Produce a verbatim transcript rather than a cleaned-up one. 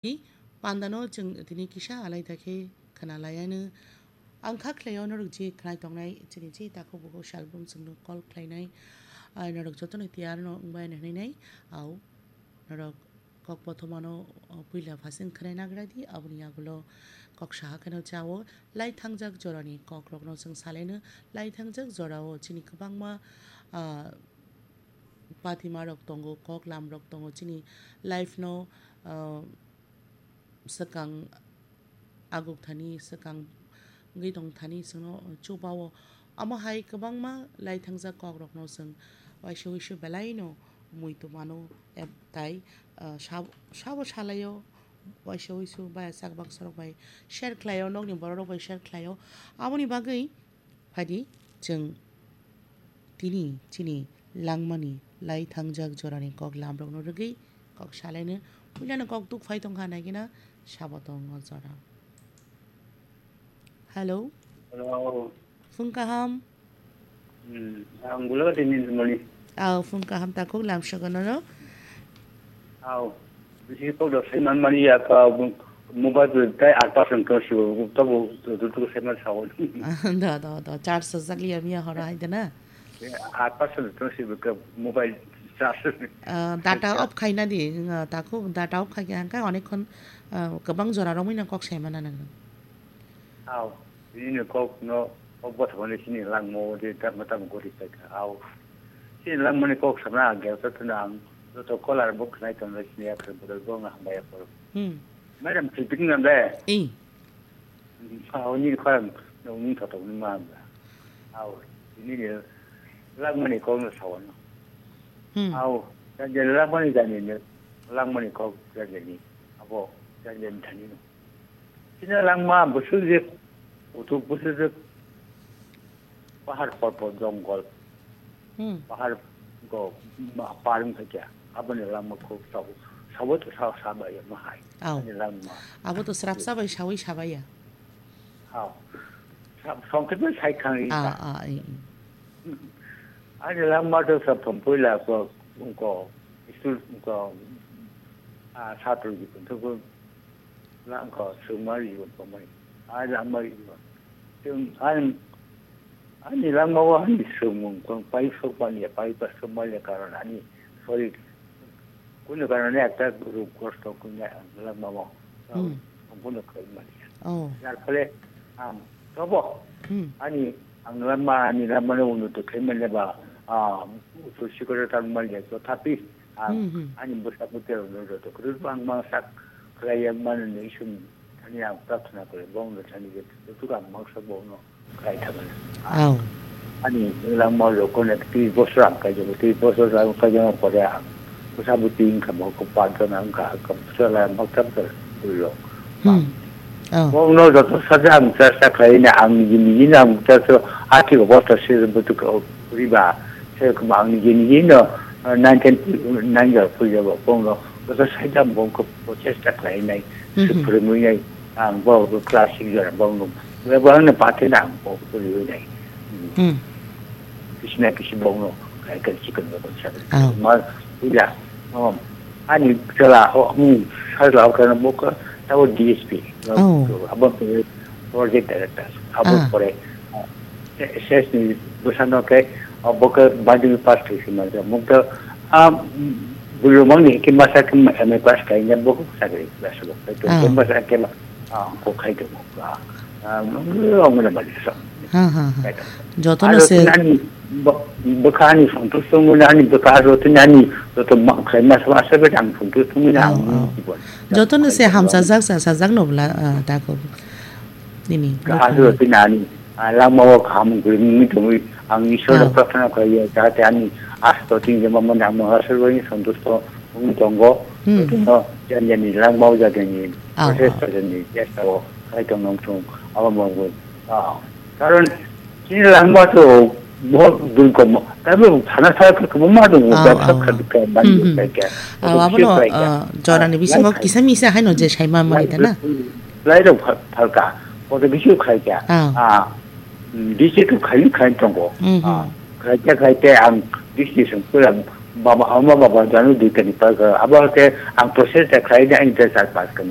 Pandano chwng tini kisa alai da khe khna lai anw. Ang kha khlaio norok je khnai tongnai chini je takhuk bukhuk salbrum chwngno call khlainai. Ah, norok jotono tiyar no wngbai hwnwi nai. Au, norok kok bothomano, o, puila phasing khnai nagra di, aboni yagulo kok saha kheno chao. Lai thangjak jorani kokrokno chwng salaino. Lai thangjak jorao chini kwbangma, ah, patima rok tongo, kok lam rok tongo, chini life no, ah, swkang aguk thani, swkang wngwi tong thani chwngno chubao. Omo hai kwbangma lai thangjak kok rokno chwng waisa waisa belai no muitu mano, eb-, tai, ah, sab-, sabo salaio, waisa waisa bai chak baksa rok bai share khlaio, nokni borok rok bai share khlaio. Aboni bagwi Phaidi, chwng tini chini langmani lai thangjak jorani kok lamrokno rwgwi kok salaino. Puilano kok tuk phai tongkha naikhe na sabo tongo jora. Hello. Hello. Phung kaham. Hmm, ang Gulagati ni mani. Aw, phung kaham takhuk lamsogo nono. Aw, bisi kok do saiman mani ya ka mobile bai tai aat percent to sibo, tobo rutuk saiman sao. Do, do, do, charge sajak liya miya horo hai de na? Aat percent to sibo ka mobile charge. Ah, data off khai na di, ah, takhuk data off khai khe hangkha onek khon, ah, kwbang jora romwi no kok sai mana nang. Aw, bini kok no, kok bothomani sini langmo de tamo tamo gori paikha. Aw, sini langmani kok sana ang gelsa tuna ang joto kolar bo khnai tong sini ya khe bodol bo nga hambai ya koro. Hmm. Madam, sipik nam de? Eh. Aw, ni khorang no ni thotok ni ma ang. Aw, bini ni langmani kok no sawan. Hmm. Aw, dan je langmani jani ne langmani kok jani ni. Abo jani jani thani no. Chini langma bwswk je, kuthuk bwswk je, pahar por por jongol, Hmm. pahar go ma-, par wng kha kya, aboni langma khub sabo, sabo to sa, sa bai ma hai. Au. Ani langma. Abo to srapsa bai sawi sabaiya. Au. Sa-, songkhe bai sai khang ri Ah, ta. ah, eh, eh. Ani langma to sa thom puila ko, ko, school ko, ah, satro ji ko, Langkha swngmari bo tongmani. Ai langmari bo. Chwng ani, ani langmao ani swngmung tong pai sokmani ya, pai pa sokmani ya karon ani sorir. Kunu karone ekta ruk kosto kunya langmao. Hmm. Kunu khaimani. Oh. Jar phole ang tobo. Hmm. Ani ang langma, ani langmano unnoti khaimani ba, ah, utu sikoro tangmani ya, tothapi Ang Hmm, hmm. ani bwsa bwtwi rok no joto kwrwi bangma sak khlai ya mani hwnwi iswk thani ang prarthana khlai, bong no thani je joto ang mangsa bong no khlai thangwi. Au. Ani langma rok connect twi bosor ang kaijago, twi bosor ang kaijago pore ang bwsa bwtwi wngkha, bo kok pat jona wngkha, bwsa lai maktab bwrwi rok. Hmm. Oh. Bong no joto saja ang chesta khlai na ang niji niji no ang chesta hati obosta se bwtwi riba. Se kuma ang niji niji no, uh, nineteen ninety-nine jar puja bo bong no joto saja bong ko chesta khlai nai, Hmm, se hmm. phwrwngwi nai, ang bo class six jar bong no, bo ang no pathe na ang bo phwrwngwi nai. Hmm. Hmm. Kisi na kisi bong no, kai kai chikon no sa. Oh. Ma, puja. Oh. Ani chwla, oh, hmm, sajla, oh, kana bo ka, tabo D S P. Oh. Abo project director. Abo Ah. pore, ah, S S ni bwsano khe, ah, bo khe madhyamik pass khe sima ja. Mukta, ah, bwrwi mangni khe masa khe M A pass khe ya bo khe sakri basa bo. Ah. Masa khe, ah, ko khai de bo. Ah, ah, ongna bali sa. Ha, ha, ha. Jotono Aro se ani bo-, bwkha ani santusto muli ani bwkha aro tini ani joto ma-, khai masa masa be ang santusto muli Oh, ang oh. jibon. Jotono se hamsajak, sajak no bla, ah, tako. Nini, Ka bwkha aro ni. Tini ani, ah, langma o kaham guri mi tongwi ang Isor Oh. prarthana khlaiya, jahate ani asto tin jema mani ang aswrwini santusto wngwi tongo. Hmm. Jotono jani jani langma o jani Oh, protest oh. jani chesta o khai tong nong thung abo mangwi. Ah, karon chini langma to bo dun kom. Tabe thana sa ko ma dun Oh, bebsa oh. kha ka ban Hmm, hmm. ka ka. Oh, abo no, ah, jorani bisingo Ah, kisa misa haino je saima mani ta na. Lai rok phal-, phalka. Koto bisu khai kya. Ah. Ah. Hmm, D C to khai khai tongo. Hmm, Ah. hmm. Khai kya khai te ang D C song pura baba ama baba janu dui tani pa ka. Abo te ang process ta khai de ang te sar pass kanya.